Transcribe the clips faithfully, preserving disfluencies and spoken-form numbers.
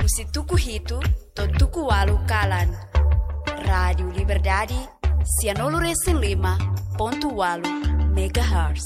Husi tuku hitu to'o tuku ualu kalan. Rádiu Liberdade, sianulu resin lima pontu ualu megahertz.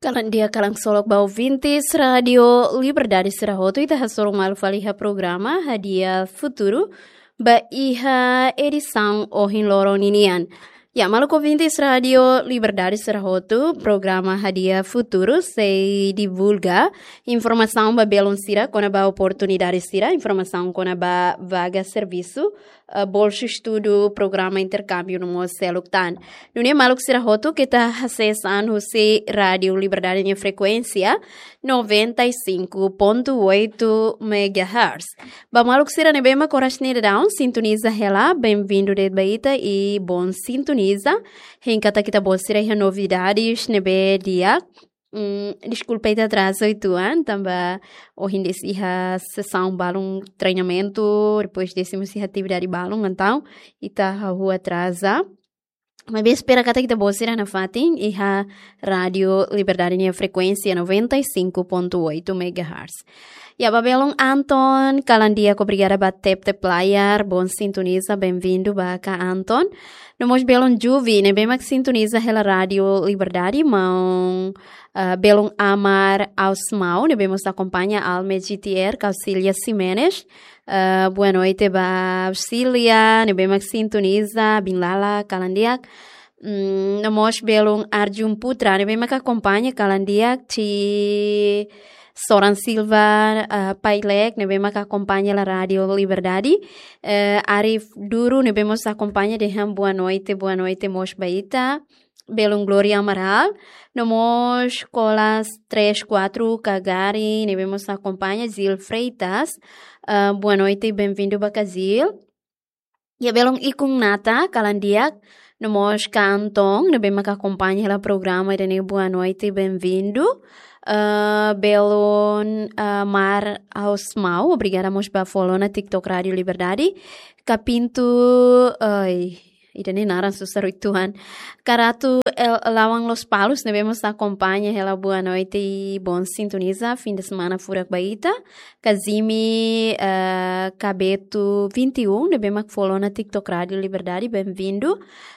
Kalan di'ak, kalan ksolok ba ouvintes Rádiu Liberdade sira hotu, ita hasoru malu fali iha programa Hadi'a Futuru ba iha edisaun ohin loron ninian. Ya, maluk ouvintes Rádiu Liberdade sira hotu, programa Hadi'a Futuru sei divulga informasaun ba belun sira kona-ba oportunidade sira, informasaun kona-ba vaga servisu, eh, bolsu estudu, programa interkámbiu no mós seluk tan. Nune'e maluk sira hotu, keta hasees an husi Rádiu Liberdade nia frekuénsia noventa e cinco ponto oito megahertz. Ba maluk sira ne'ebé mak oras ne'e daudaun sintoniza hela, bem-vindo de'it ba ita i bom sintonizar. Hein katak ita-boot sira iha novidades ne'ebé di'ak. Mm, deskulpa ita atraza uitoan, tanba ohin de'it iha sesaun balun treinamentu, depois de'it mós iha atividade balun, entaun ita hahú atraza. Maibé espera katak ita-boot sira nafatin iha Rádiu Liberdade nia frekuénsia noventa e cinco ponto oito megahertz. Ya, ba belun Anton, kalan di'ak, obrigada ba tep-tep layar, bom sintonizar, bem-vindo ba ka Anton. No mós belun Juvi, ne'ebé mak sintoniza hela Rádiu Liberdade, maun, eh, belun Amar Ausmau, ne'ebé mós akompaña Alme G T R, Kausilia Ximenes. Eh, boa noite ba Sília, ne'ebé mak sintoniza, Bin Lala, kalan di'ak. Mm, no mós belun Arjun Putra, ne'ebé mak akompaña, kalan di'ak, Ti Soran Silva, eh, Pailek, ne'ebé mak akompaña hela Rádiu Liberdade. Eh, Arif Duru, ne'ebé mós akompaña, dehan boa noite, boa noite mós ba ita. Belun Gloria Amaral, no mós Colas três quatro Kagari, ne'ebé mós akompaña, Zil Freitas. Ah, boa noite, bem-vindo ba ka Zil. Ya, belun Ikun Nata, kalan di'ak, no mós ka Anton, ne'ebé mak akompaña hela programa ida-ne'e, boa noite, bem-vindo. Ah, belun, ah, Mar Ausmau, obrigada mós ba follow ona TikTok Rádiu Liberdade. Ka Pintu, ai, ida-ne'e naran susar uitoan. Ka Ratu El-, Lawang Lospalos, ne'ebé mós akompaña hela boa noite i bom sintonizar, fim de semana furak ba ita. Ka Zimi, eh, Kabetu vinte e um, ne'ebé mak follow ona TikTok Rádiu Liberdade, bem-vindo.